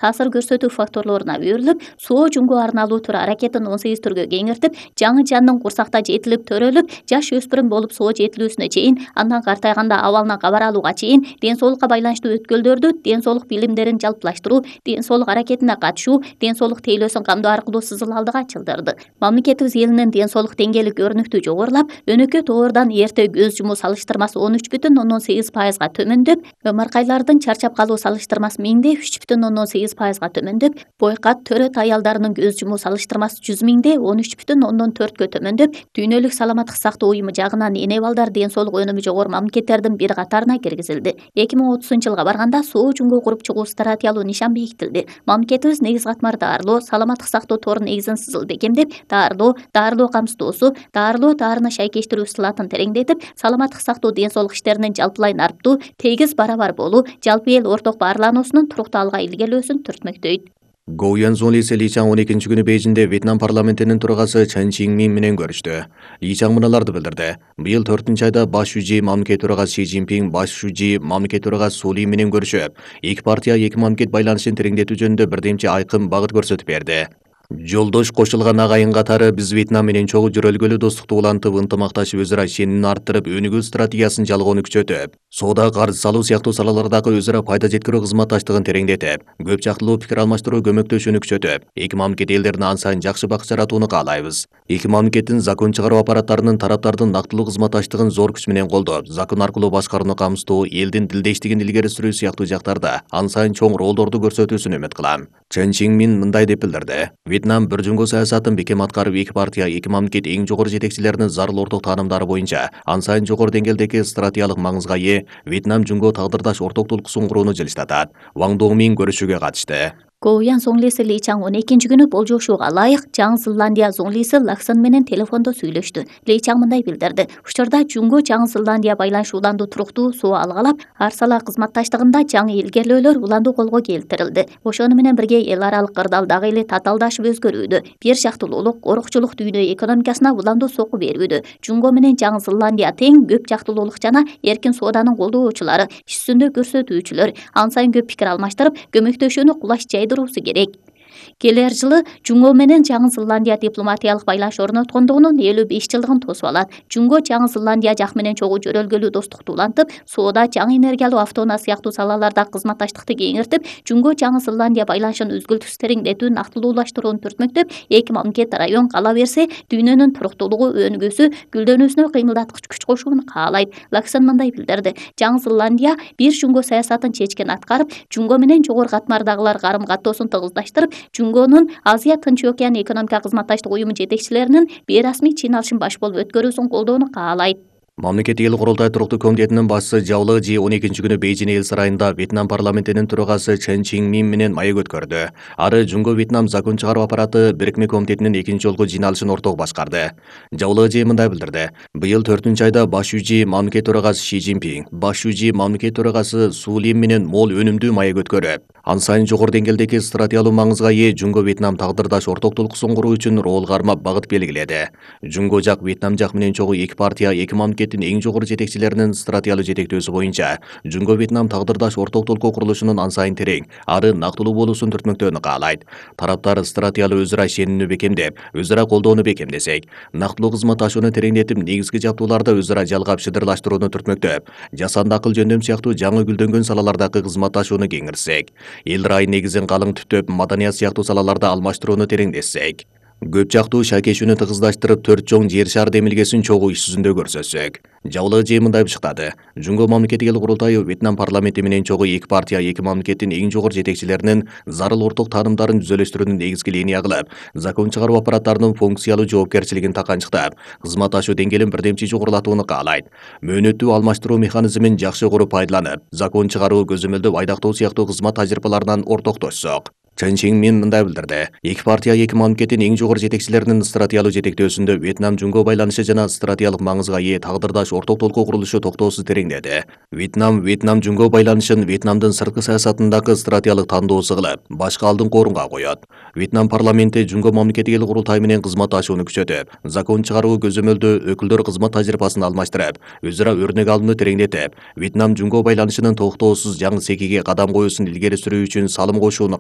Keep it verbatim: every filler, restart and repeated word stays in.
таасир көрсөтүү факторлоруна берилип, соо жунго арналуу тур аракетин он сегиз түргө кеңейтип, жаңы жандын курсакта жетилип төрөлүп, жаш өспүрүм болуп соо жетилүүсүнө чейин, андан картайганда абалына кабар алууга чейин ден соолукка байланыштуу өткөлдөрдү ден соолук билимдерин жалпылаштыруу, ден соолук аракетине катышуу, ден соолук тейлөөсүн камдоо аркылуу сызыл алдыга чылдырды. Мамлекетибиз элинин ден соолук деңгээли көрүнүктүү жогорулап, өнөкөй тоордон эрте көз жумуу салыштырмасы он үч бүтүн ондон сегиз пайызга төмөндөп, ымыркайлардын чарчап калуу салыштырмасы миңде үч бүтүн ондон сегиз пайызга төмөндөп, бойкат төрөт аялдарынын көз жумуу салыштырмасы жүз миңде он үч бүтүн ондон төрткө төмөндөп, дүйнөлүк саламаттык сактоо уюму жагынан эне балдар ден соолук өнүмү жогору мамлекеттердин бир катарына киргизилди. эки миң отузунчу жылга барганда соо жунго куруп чыгуу стратегиялуу нишан бекитилди. Мамлекетибиз негиз катмар даарылоо, саламаттык сактоо торунун негизин сызыл бекемдеп, даарылоо, даарылоо камсыздоосу, даарылоо таарына шайкештирүү сылатын тереңдетип, саламаттык сактоо ден соолук иштеринин жалпылай нарптуу, тегиз барабар болуу, жалпы эл орток баарлануусунун туруктуу алга илгерилөөсүн түртмөктөйт. Гоу Янсон Ли Ли Чаң он экинчи күнү Бейжиңде Вьетнам парламентинин төрагасы Чан Чин Мин менен көрүштү. Ли Чаң мыналарды билдирди. Быйыл төртүнчү айда баш шужи мамлекет төрагасы Си Цзиньпин баш шужи мамлекет төрагасы Су Ли менен көрүшүп, эки партия эки мамлекет байланышын тереңдетүү жөнүндө бирдемче айкын багыт көрсөтүп берди. Жолдош кошулган агайын катары биз Вьетнам менен чогуу жүрөлгөлүү достукту улантып, ынтымакташып, өзара ишенимди арттырып, өнүгүү стратегиясын жалгоону күчөтүп, соода, карыз салуу сыяктуу салалардагы өзара пайда жеткирүү кызматташтыгын тереңдетип, көп жактылуу пикир алмаштыруу көмөктөшүүнү күчөтүп, эки мамлекет элдерине ан сайын жакшы бак жаратууну каалайбыз. Эки мамлекеттин закон чыгаруу аппараттарынын тараптардын нактылуу кызматташтыгын зор күч менен колдоп, закон аркылуу башкарууну камсыздоо, элдин тилдештигин илгери сүрүү сыяктуу жактарда ан сайын чоң ролдорду көрсөтүүсүн үмүт кылам. Чан Чин Мин мындай деп билдирди. Вьетнам бир жумго саясатын бекем аткарып, эки партия, эки мамлекет эң жогору жетекчилеринин зарыл орток таанымдары боюнча ан сайын жогору деңгээлдеги стратегиялык маңызга ээ Вьетнам жумго тагдырдаш орток толкуусун курууну жылыштатат. Ван Дongмин көрүшүүгө катышты. Гоу Янсон Ли Ли Чаң он экинчи күнү болжошууга ылайык Жаңы Зеландия зоңлиси Лаксон менен телефондо сүйлөштү. Ли Чаң мындай билдирди. Учурда жунго Жаңы Зеландия байланышы уланду туруктуу, соо алгалап, ар сала кызматташтыгында жаңы илгерилөөлөр уланду колго келтирилди. Ошону менен бирге эл аралык кырдаал дагы эле татаалдашып өзгөрүүдө. Бир жактылуулук, корукчулук дүйнө экономикасына уланду сокку берүүдө. Жунго менен Жаңы Зеландия тең көп жактылуулук жана эркин сооданын колдоочулары, иш жүзүндө көрсөтүүчүлөр, ан сайын көп пикир алмаштырып, көмөктөшүүнү кулаш жайдыруусу керек. Келер жылы Жунго менен Жаңы Зеландия дипломатиялык байланыш орноткондугунун элүү беш жылдыгын тосуп алат. Жунго Жаңы Зеландия жак менен чогуу жөрөлгөлүү достукту улантып, соода, жаңы энергиялуу автоунаа сыяктуу салаларда кызматташтыкты кеңиртип, Жунго Жаңы Зеландия байланышын үзгүлтүксүз тереңдетүү, нактылуулаштырууну түртмөктөп, эки мамлекет район кала берсе, дүйнөнүн туруктуулугу, өнүгүүсү, гүлдөнүүсүнө кыймылдаткыч күч кошууну каалайт. Лаксон мындай билдирди. Жаңы Зеландия бир жунго саясатын чечкен аткарып, Жунго менен жогору катмардагылар карым-каттоосун тыгыздаштырып, Жунгонун Азия Тынч океан экономика кызматташтык уюму жетекчилеринин бейрасмий чыйналышын баш болуп өткөрүүсүн колдоону каалайт. Мамлекеттик эл курултай туруктуу комитетинин башчысы Жао Лежи он экинчи күнү Бейжиң эл сарайында Вьетнам парламентинин төрагасы Чан Чин Мин менен маек өткөрдү. Ары Жунго Вьетнам закон чыгаруу аппараты бирикме комитетинин экинчи жолку жыйналышын орток башкарды. Жао Лежи мындай билдирди. Быйыл төртүнчү айда баш шужи мамлекет төрагасы Си Цзиньпин, баш шужи мамлекет төрагасы Су Ли менен мол өнүмдүү маек өткөрүп, ан сайын жогору деңгээлдеги стратегиялуу маңызга ээ Жунго Вьетнам тагдырдаш орток толкуусун куруу үчүн рол кармап багыт белгиледи. Жунго жак Вьетнам жак менен чогуу эки партия, эки мамлекеттин эң жогору жетекчилеринин стратегиялуу жетектөөсү боюнча Жунго Вьетнам тагдырдаш орток толкуу курулушунун ан сайын терең, ары нактылуу болуусун түртмөктөөнү каалайт. Тараптар стратегиялуу өзара ишенимди бекемдеп, өзара колдоону бекемдесек, нактылуу кызматташууну тереңдетип, негизги жабдууларды өзара жалгап шыдырлаштырууну түртмөктөп, жасанды акыл жөндөм сыяктуу жаңы гүлдөнгөн салалардагы кызматташууну кеңиртсек, эл райы негизин калың түптөп, маданият сыяктуу салаларда алмаштырууну тереңдетсек, көп жактуу шайкешүүнү тыгыздаштырып, төрт чоң жер шар демилгесин чогуу иш жүзүндө көрсөтсөк. Жао Лежи мындай бышыктады. Жунго мамлекеттик эл курултайы Вьетнам парламенти менен чогуу эки партия, эки мамлекеттин эң жогору жетекчилеринин зарыл орток таанымдарын жүзөлөштүрүүнү негизги линия кылып, закон чыгаруу аппараттарынын функциялуу жоопкерчилигин таканчыктап, кызматташуу деңгээлин бирдемчи жогорулатууну каалайт. Мөөнөттүү алмаштыруу механизмин жакшы куруп пайдаланып, закон чыгаруу, көзөмөлдөп, айдактоо сыяктуу кызмат тажрыйбаларынан ортоктошсок. Чан Чин Мин мындай билдирди. Эки партия, эки мамлекеттин эң жогору жетекчилеринин стратегиялуу жетектөөсүндө Вьетнам Жунго байланышы жана стратегиялык маңызга ээ тагдырдаш орток толкуу курулушу токтоосуз тереңдеди. Вьетнам Вьетнам Жунго байланышын Вьетнамдын сырткы саясатындагы стратегиялык тандоосу кылып, башка алдыңкы орунга коет. Вьетнам парламенти Жунго мамлекеттик эл курултайы менен кызматташууну күчөтүп, закон чыгаруу, көзөмөлдөө, өкүлдөр кызмат тажрыйбасын алмаштырып, өзара өрнөк алууну тереңдетип, Вьетнам Жунго байланышынын токтоосуз жаңы секиге кадам коюусун илгери сүрүү үчүн салым кошууну